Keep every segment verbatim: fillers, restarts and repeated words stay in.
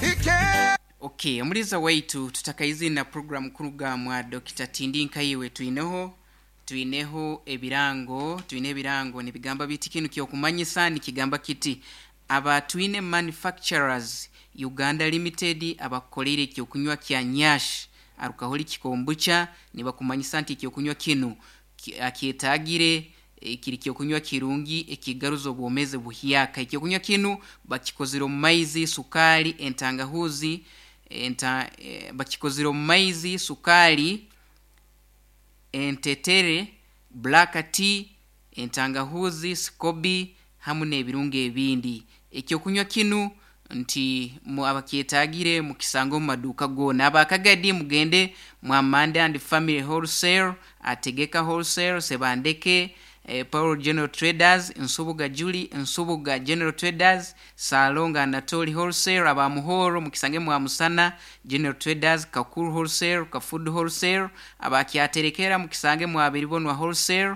He came. Okay, omuliza waitu tutakaizi na program kuruga mwa Dokita Tindi Nkaiwe, twineho twineho ebirango twine ebirango nibigamba biti kinu kyokumanyisa nikigamba kiti aba Twine Manufacturers Uganda Limited abakukoleire ekyokunywa kya Nyash alcoholic kombucha, nibakumanyisa nti ekyokunywa kinu ki- akyetagire eh, kiri kyokunywa kirungi ekigaruza obwomezi buhyaka. Ekyokunywa kinu bakikozire omu maizi, sukali, entangahuzi, enta, eh, bakikozire omu maizi, sukali, entetere, black tea, entangahuzi, sikobi hamu n'ebirungo ebindi. Ekyokunywa kinu nti mu abakyetagire mukisanga omu maduuka goona. Abakagadi mugende mwa Mande and Family Wholesale, Ategeka Wholesale, Sebandeke, eh, Paul General Traders, Nsubuga Julie, Nsubuga General Traders, Salonga Anatoli Wholesale, abamuhoro mukisange mwa Musana General Traders, Kakuru Wholesale, Kafood Wholesale, abakyaterekera mukisange mwa Biribonwa Wholesale,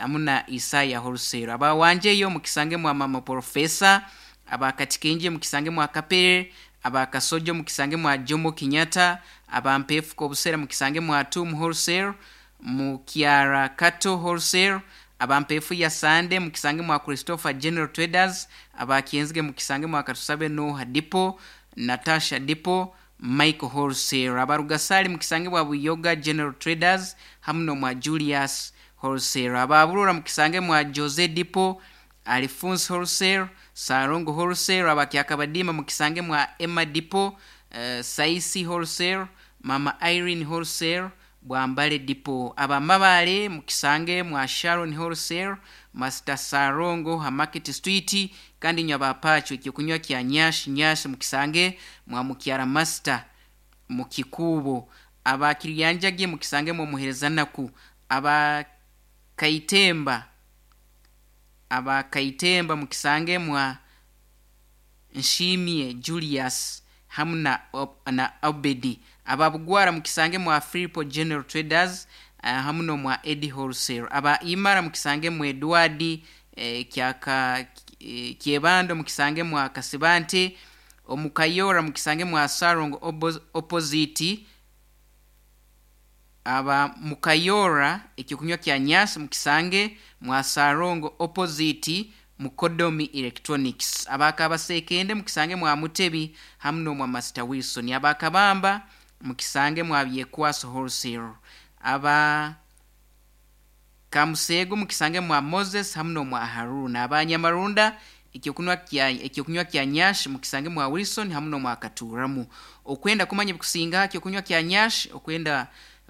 amuna Isaya Wholesale. Abawanjeyo mukisange mwa Mama Professor, abakatikenje mukisange mwa Kapere, abakasojo mukisange mwa Jomo Kenyatta, abampefu kobusera mukisange mwa Tum Wholesale, mukyara Kato Wholesale, abampefu ya Sande mukisange mwa Christopher General Traders, abakyenzige mukisange mwa Katusabe Noha Depot, Natasha Depot, Michael Wholesale, abarugasali mukisange mwa Buyoga General Traders hamuno mwa Julius Wholesale, ababurura mukisange mwa Jose Depot, Alphonse Wholesale, Sarongo Wholesale, abakyakabadima mukisange mwa Emma Depot, uh, Saisi Wholesale, Mama Irene Wholesale, Bwambale Depot, abamabale mukisange mwa Sharon Wholesale, Master Sarongo ha Market Street, kandi nywa abapacho ekyokunywa kya Nyash Nyash mukisange mwa Mukyara Master mukikubo, abakiryanjage mukisange mwa Muherezanaku, abakaitemba abakaitemba mukisange mwa Nshimie Julius hamu na, Ob- na Obedi, ababugwara mukisange mwa Filipo General Traders, uh, hamu no mwa Eddie Wholesale, aba Imara mukisange mwa Edward eh, kyaka eh, Kyebando mukisange mwa Kasibante, omukayora mukisange mwa Sarongo obo- opposite, aba mukayora ekyokunywa kya Nyasi mukisange mwa Sarongo opposite Mukodomi Electronics, abakabasekende mukisange mwa Mutebi hamu no mwa Master Wilson, abakabamba mukisange mwa Byekwaso Wholesale, aba Kamusego mukisange mwa Moses hamu no mwa Haruna, abanyamarunda ekyokunywa kya ekyokunywa kya Nyash mukisange mwa Wilson hamu no mwa Katuramu. Okwenda kumanya bikusinga ekyokunywa kya Nyash, okwenda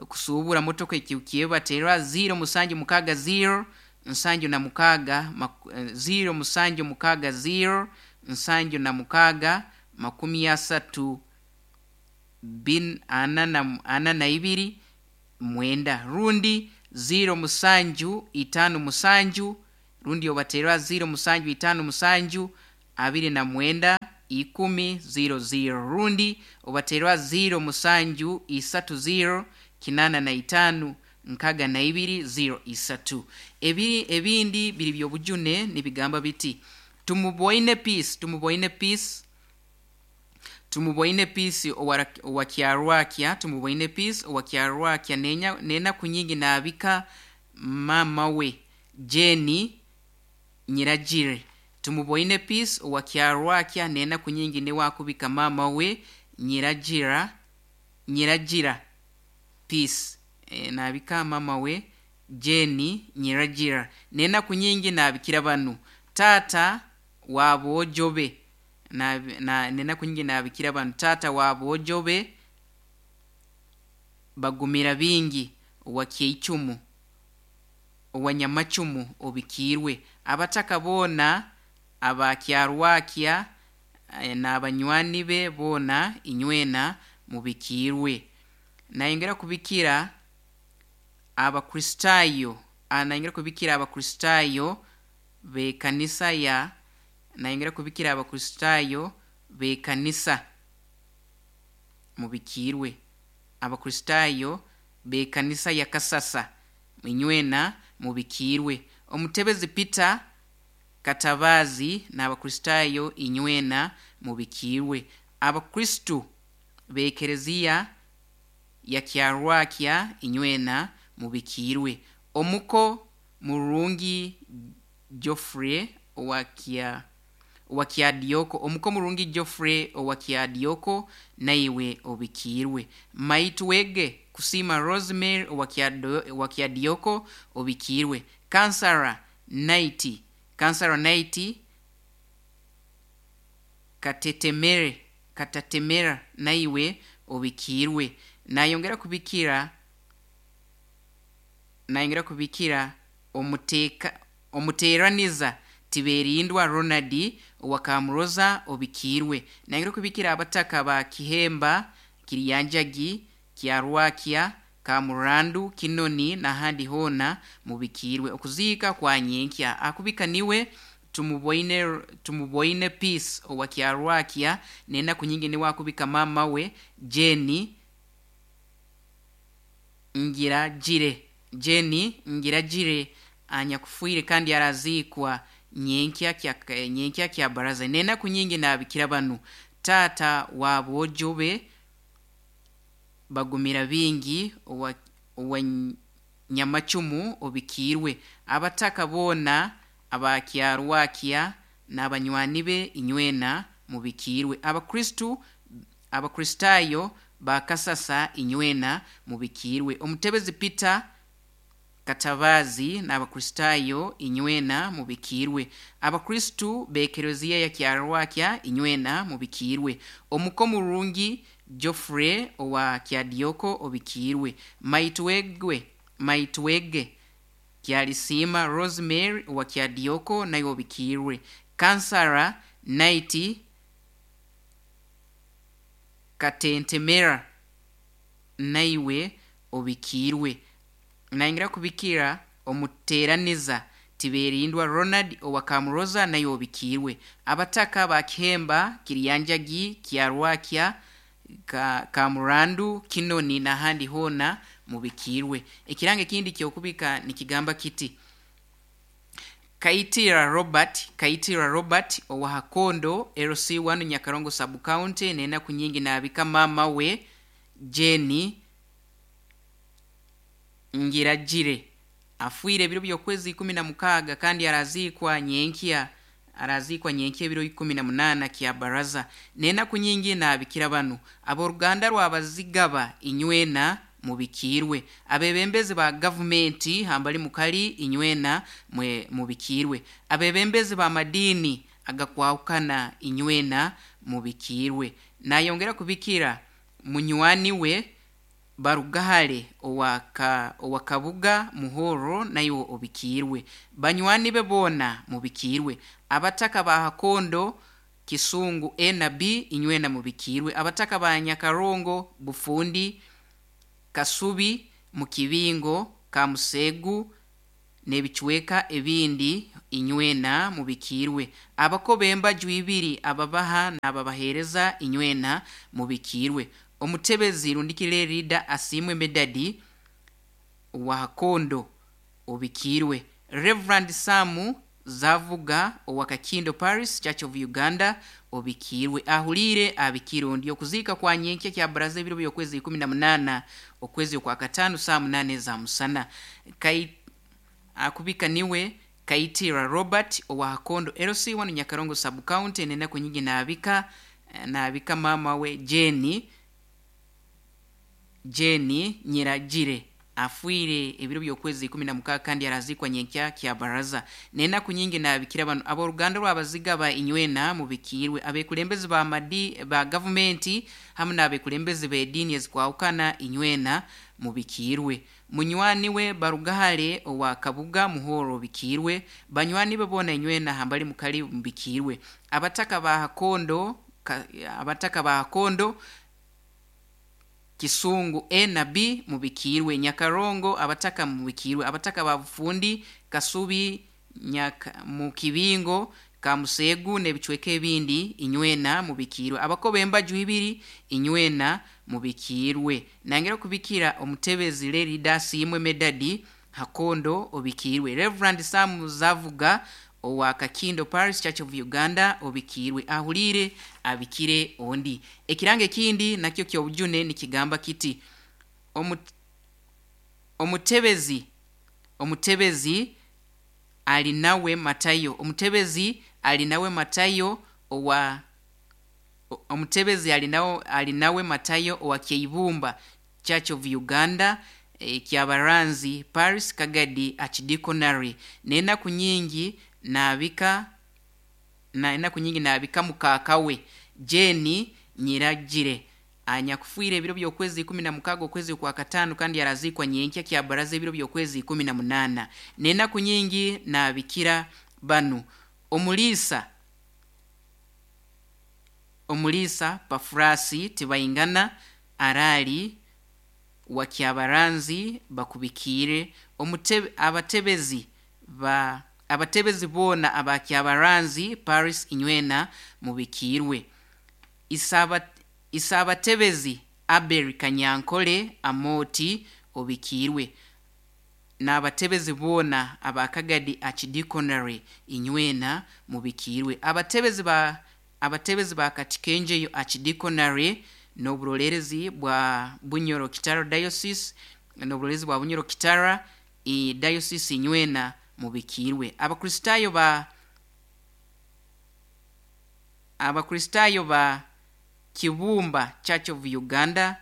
kusuubura motoka ekyebatera zero musanju mukaga zero nsanju na mukaga maku- eh, zero musanju mukaga zero nsanju na mukaga makumi asatu bin ana na, ana na ibiri mwenda rundi zero musanju itano musanju rundi obatera zero musanju itano musanju abiri na mwenda ikumi zero zero rundi obatera zero musanju isatu zero kinana na itanu nkaga na ibiri zero isatu. Ebiri ebindi biri byobujune nibigamba biti tumuboine peace tumuboine peace tumuboine peace owakyarwakya tumuboine peace owakyarwakya nenya nena kunyingi nabika mama we Jenny Nyiragire. Tumuboine peace owakyarwakya nena kunyingi newakubika mama we Nyiragira Nyiragira peace e, nabika mama we Jenny Nyiragira nena kunyingi nabikira banu tata wabojobe na, na nena kunyingi nabikira banu tata wabojobe bagumira bingi owakyeicumu owanyamacumu obikirwe abataka boona abakyarwakya eh, n'abanywani be boona inywena mubikirwe. Nayongera kubikira Abakristaayo, ah, nayongera kubikira Abakristaayo b'ekanisa ya nayongera kubikira Abakristaayo b'ekanisa mubikirwe, Abakristaayo b'ekanisa ya Kasasa inywena mubikirwe, omutebezi Peter Katabazi n'Abakristaayo inywena mubikirwe, Abakristu b'ekereziya ya Kyarwakya inywena mubikiirwe. Omuko murungi Geoffrey owa Kya owa Kyadioko, omuko murungi Geoffrey owa Kyadioko naiwe obikiirwe. Maitwege Kusiima Rosemary owa Kyado- owa Kyadioko obikiirwe. Kansara Night, Kansara Night Katetemere, Katatemera naiwe obikiirwe. Nayongera kubikira nayongera kubikira omuteeka omuteeraniza Tiberindwa Ronald owa Kamuroza obikiirwe. Nayongera kubikira abataka ba Kihemba, Kiryanjagi, Kyarwakya, Kamurandu, Kinoni n'ahandi hoona mubikiirwe. Okuziika kwa nyenkya akubika niwe tumuboine tumuboine Peace owa Kyarwakya, n'enaku nyingi niwe akubika maama we Jane Ngiragire, Jane Ngiragire anyakufiire kandi araziikwa nyenkya kya nyenkya kya baraza. N'enaku nyingi naabikira banu taata wa boojo be Bagumira Bingi owa owa Nyamacumu obikiirwe. Abataka boona aba Kyarwakya n'abanywani be inywena mubikiirwe. Abakristu Abakristaayo ba Kasasa inywena mubikiirwe. Omutebezi Peter Katabazi n'Abakristaayo inywena mubikiirwe. Abakristu b'ekereziya ya Kyarwakya inywena mubikiirwe. Omuko murungi Geoffrey owa Kyadioko obikiirwe. Maitwegwe Maitwege Kyalisiima Rosemary owa Kyadioko naye obikiirwe. Kansara Night Katentemera naiwe obikiirwe. Nayongera kubikira omuteeraniza Tiberindwa Ronald owa Kamuroza naye obikiirwe. Abataka ba Kihemba, Kiryanjagi, Kyarwakya, Ka, Kamurandu, Kinoni n'ahandi hoona mubikiirwe. Ekirango ekindi ky'okubika nikigamba kiti: Kaitira Robert, Kaitira Robert owa Hakondo L C one Nyakarongo sub county, n'enaku nyingi naabika maama we Jane Ngiragire afiire ebiro by'okwezi ikumi na mukaaga kandi araziikwa nyenkya araziikwa nyenkya ebiro ikumi na munaana kya baraza. N'enaku nyingi naabikira banu ab'oruganda rw'Abazigaba inywena mubikiirwe. Abebembezi ba gavumenti hambali mukali inywena mwe mubikiirwe. Abebembezi ba madiini agakwahukana inywena mubikiirwe. Nayongera kubikira munywani we Barugahare owa ka, owa Kabuga Muhoro nayo obikiirwe. Banywani be boona mubikiirwe. Abataka ba Hakondo Kisungu A na B inywena mubikiirwe. Abataka ba Nyakarongo Bufundi Kasubi Mukibingo Kamusegu n'ebicweka ebindi inywena mubikiirwe. Abako b'embaju ibiri ababaha n'ababaheereza inywena mubikiirwe. Omutebezi Rundikire Rida Asiimwe Medadi wa Hakondo obikiirwe. Reverend Samu Zavuga owa Kakindo Paris Church of Uganda obikiirwe. Ahuliire abikiirwe. Ondi okuziika kwa nyenkya kya baraza ebiro by'okwezi ikumi na munaana okwezi okwa kataano saa munaana eza musana. Kai, akubika niwe Kaitira Robert owa Hakondo L C one Nyakarongo sub county, n'enaku nyingi naabika naabika maama we Jane Jane Nyiragire afiire ebiro by'okwezi ikumi na mukaaga kandi araziikwa nyenkya kya baraza. N'enaku nyingi naabikira banu ab'oruganda rw'Abazigaba inywena mubikiirwe. Abekulembezi ba madi ba gavumenti hamu n'abekulembezi b'ediini ezikwahukana inywena mubikiirwe. Munywani we Barugahare owa Kabuga Muhoro obikiirwe. Banywani be boona inywena hambali mukali mubikiirwe. Abataka ba Hakondo ka, abataka ba Hakondo Kisungu A na B mubikiirwe. Nyakarongo abataka mubikiirwe. Abataka ba Bufundi Kasubi Nyaka Mukibingo Kamusegu n'ebicweka ebindi inywena mubikiirwe. Abako b'embaju ibiri inywena mubikiirwe. Nangera kubikira omutebezi Lerida Asiimwe Medadi Hakondo obikiirwe. Reverend Sam Zavuga owa Kakindo Parish Church of Uganda obikiirwe, ahuliire abikire ondi. Ekirango ekindi nakyo ky'obujune nikigamba kiti: omutebezi omutebezi ali nawe Matayo, omutebezi ali nawe Matayo owa omutebezi ali nawe ali nawe Matayo owa Kyeibumba Church of Uganda e, Kyabaranzi Paris Kagadi Archdeaconry, n'enaku nyingi naabika na enaku nyingi naabika mukaakawe Jane Nyiragire anyakufiire ebiro by'okwezi ikumi na mukaaga okwezi kwa kataano, kandi yaraziikwa nyenkya Kyabaraza ebiro by'okwezi ikumi na munaana. N'enaku nyingi naabikira banu: omuliisa omuliisa Pafurasi Tibaingana arali wa Kyabaranzi bakubikiire, omutebe abatebezi ba abatebezi boona aba Kyabaranzi Paris inywena mubikiirwe, Isaba Isabatebezi Abel Kanyankole Amoti obikiirwe, n'abatebezi boona aba Kagadi Archdeaconry inywena mubikiirwe, abatebezi ba abatebezi ba Katikenjeyo Archdeaconry n'oburolerezi bwa Bunyoro Kitara Diocese n'oburolerezi bwa Bunyoro Kitara i Diocese inywena mubikiirwe, Abakristaayo ba Abakristaayo ba Kibumba Church of Uganda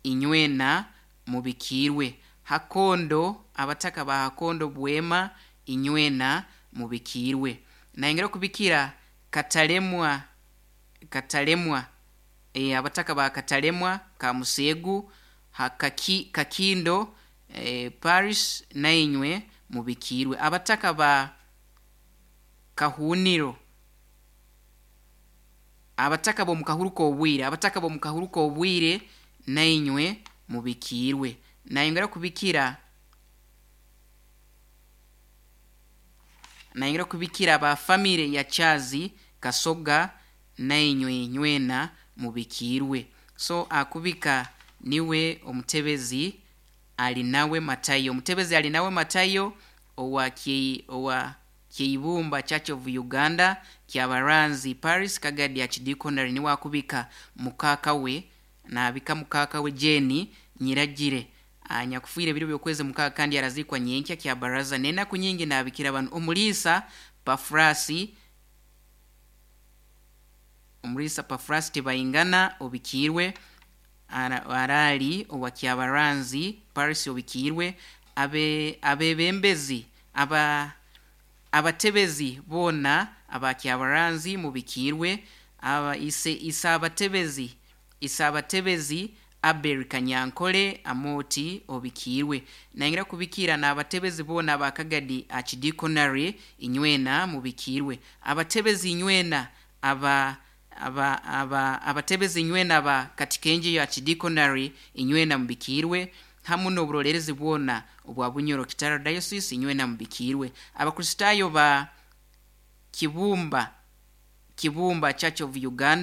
inywena mubikiirwe, Hakondo abataka ba Hakondo Bwema inywena mubikiirwe. Nayongera okubikira Katalemwa Katalemwa e, abataka ba Katalemwa Kamuseegu Hakaki, Kakindo e, Paris nainywe mubikiirwe, abataka ba Kahuniro abataka b'omu kahuru k'obwire abataka b'omu kahuru k'obwire nainywe mubikiirwe. Nayongera kubikira nayongera kubikira aba famire ya Chazi Kasoga nainywe nywena mubikiirwe. So akubika niwe omutebezi ali nawe Matayo, omutebezi ali nawe Matayo owa Kye, owa Kyeibumba Church of Uganda Kyabaranzi Paris Kagadi Archdeaconry niwe akubika mukaaka we naabika mukaaka we Jane Nyiragire anyakufiire ebiro by'okwezi mukaaga kandi araziikwa nyenkya Kyabaraza. N'enaku nyingi naabikira banu: omuliisa Pafurasi omuliisa Pafurasi Tibaingana obikiirwe, arali owa Kyabaranzi Paris obikiirwe, abe abebembezi aba abatebezi boona aba Kyabaranzi mubikiirwe, aba ise ise abatebezi ise abatebezi Abel Kanyankole Amoti obikiirwe. Nayongera kubikira n'abatebezi boona aba Kagadi Archdeaconry inywena mubikiirwe, abatebezi inywena aba aba aba abatebezi inywena aba Katikenjeyo Archdeaconry inywena mubikiirwe, hamu n'oburolerezi bwona obwa Bunyoro Kitara Diocese inywena mubikiirwe, Abakristaayo ba Kibumba Kibumba Church of Uganda.